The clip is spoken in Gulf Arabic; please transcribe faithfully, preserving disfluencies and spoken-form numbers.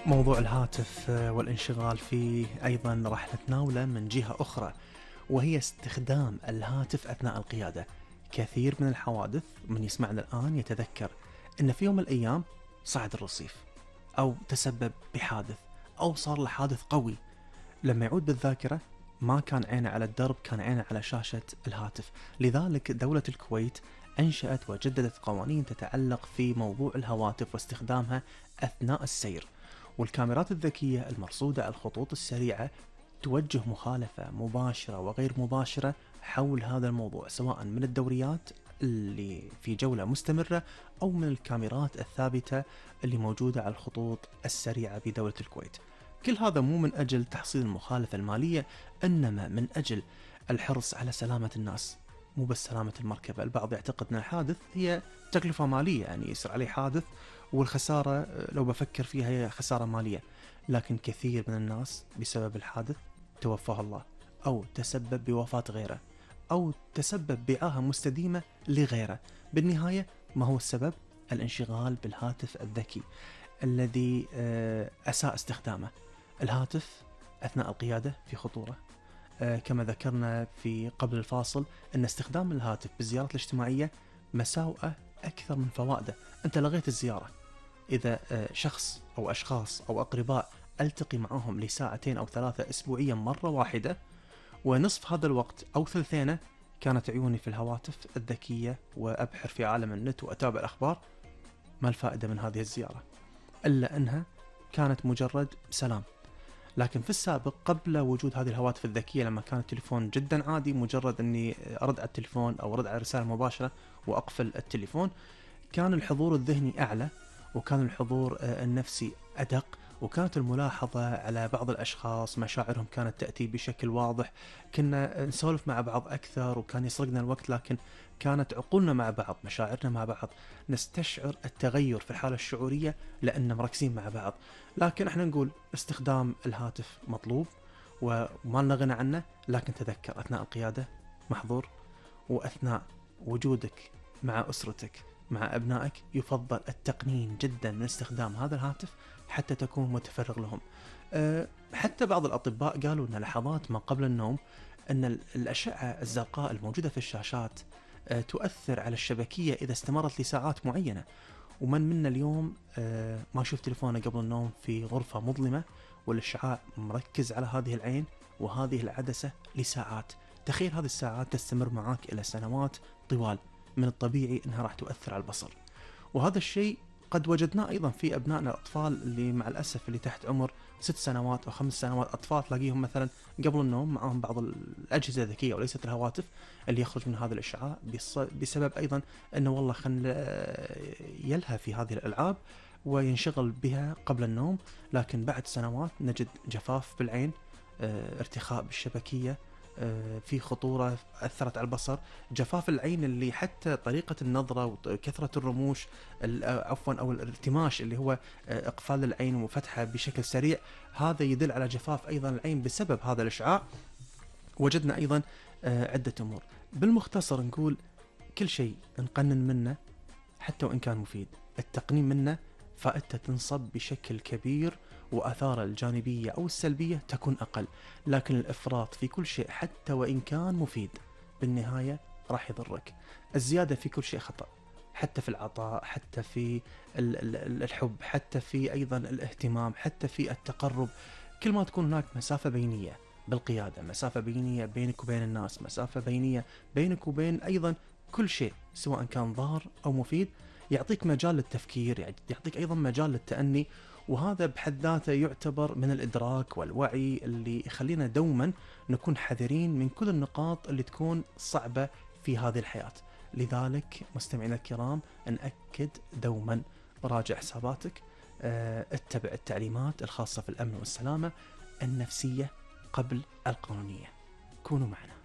موضوع الهاتف آه، والانشغال فيه أيضا راح نتناوله من جهة أخرى، وهي استخدام الهاتف أثناء القيادة. كثير من الحوادث من يسمعنا الآن يتذكر أن في يوم من الأيام صعد الرصيف، أو تسبب بحادث، أو صار له حادث قوي. لما يعود بالذاكرة ما كان عينه على الدرب، كان عينه على شاشة الهاتف. لذلك دولة الكويت أنشأت وجددت قوانين تتعلق في موضوع الهواتف واستخدامها أثناء السير. والكاميرات الذكية المرصودة على الخطوط السريعة توجه مخالفة مباشرة وغير مباشرة حول هذا الموضوع، سواء من الدوريات اللي في جولة مستمرة أو من الكاميرات الثابتة اللي موجودة على الخطوط السريعة بدولة الكويت. كل هذا مو من أجل تحصيل المخالفة المالية، إنما من أجل الحرص على سلامة الناس. مو بس سلامة المركبة، البعض يعتقد أن الحادث هي تكلفة مالية، يعني يصير عليه حادث والخسارة لو بفكر فيها هي خسارة مالية. لكن كثير من الناس بسبب الحادث توفاه الله، أو تسبب بوفاة غيره، أو تسبب بعاهة مستديمة لغيره. بالنهاية ما هو السبب؟ الانشغال بالهاتف الذكي الذي آه، أساء استخدامه. الهاتف أثناء القيادة في خطورة. آه، كما ذكرنا في قبل الفاصل أن استخدام الهاتف بالزيارات الاجتماعية مساوئه أكثر من فوائده. أنت لغيت الزيارة. إذا آه، شخص أو أشخاص أو أقرباء ألتقي معهم لساعتين أو ثلاثة أسبوعيا مرة واحدة، ونصف هذا الوقت أو ثلثينه كانت عيوني في الهواتف الذكية وأبحر في عالم النت وأتابع الأخبار، ما الفائدة من هذه الزيارة؟ إلا أنها كانت مجرد سلام. لكن في السابق قبل وجود هذه الهواتف الذكية، لما كان التليفون جدا عادي، مجرد أني أرد على التليفون أو أرد على رسالة مباشرة وأقفل التليفون، كان الحضور الذهني أعلى، وكان الحضور النفسي أدق، وكانت الملاحظة على بعض الأشخاص مشاعرهم كانت تأتي بشكل واضح. كنا نسولف مع بعض أكثر وكان يسرقنا الوقت، لكن كانت عقولنا مع بعض، مشاعرنا مع بعض، نستشعر التغير في الحالة الشعورية لأننا مركزين مع بعض. لكن احنا نقول استخدام الهاتف مطلوب وما لنا غنى عنه، لكن تذكر أثناء القيادة محظور، وأثناء وجودك مع أسرتك مع أبنائك يفضل التقنين جدا من استخدام هذا الهاتف حتى تكون متفرغ لهم. أه حتى بعض الأطباء قالوا أن لحظات ما قبل النوم أن الأشعة الزرقاء الموجودة في الشاشات أه تؤثر على الشبكية إذا استمرت لساعات معينة. ومن منا اليوم أه ما يشوف تليفونه قبل النوم في غرفة مظلمة والإشعاع مركز على هذه العين وهذه العدسة لساعات؟ تخيل هذه الساعات تستمر معك إلى سنوات طوال، من الطبيعي أنها راح تؤثر على البصر. وهذا الشيء قد وجدناه أيضا في أبنائنا الأطفال اللي مع الأسف اللي تحت عمر ست سنوات أو خمس سنوات. أطفال تلاقيهم مثلا قبل النوم معهم بعض الأجهزة الذكية وليست الهواتف اللي يخرج من هذا الإشعاع، بسبب أيضا أنه والله خل يلهى في هذه الألعاب وينشغل بها قبل النوم. لكن بعد سنوات نجد جفاف بالعين، ارتخاء بالشبكية، في خطورة أثرت على البصر، جفاف العين اللي حتى طريقة النظرة وكثرة الرموش عفوا أو الارتماش اللي هو إقفال العين وفتحها بشكل سريع، هذا يدل على جفاف أيضا العين بسبب هذا الإشعاع. وجدنا أيضا عدة أمور. بالمختصر نقول كل شيء نقنن منه حتى وإن كان مفيد، التقنين منه فائدته تنصب بشكل كبير وآثاره الجانبية أو السلبية تكون أقل. لكن الإفراط في كل شيء حتى وإن كان مفيد بالنهاية راح يضرك. الزيادة في كل شيء خطأ، حتى في العطاء، حتى في الحب، حتى في أيضا الاهتمام، حتى في التقرب. كل ما تكون هناك مسافة بينية بالقيادة، مسافة بينية بينك وبين الناس، مسافة بينية بينك وبين أيضا كل شيء سواء كان ضار أو مفيد، يعطيك مجال للتفكير، يعطيك أيضا مجال للتأني. وهذا بحد ذاته يعتبر من الإدراك والوعي اللي يخلينا دوما نكون حذرين من كل النقاط اللي تكون صعبة في هذه الحياة. لذلك مستمعينا الكرام نأكد دوما راجع حساباتك، اه اتبع التعليمات الخاصة في الأمن والسلامة النفسية قبل القانونية. كونوا معنا.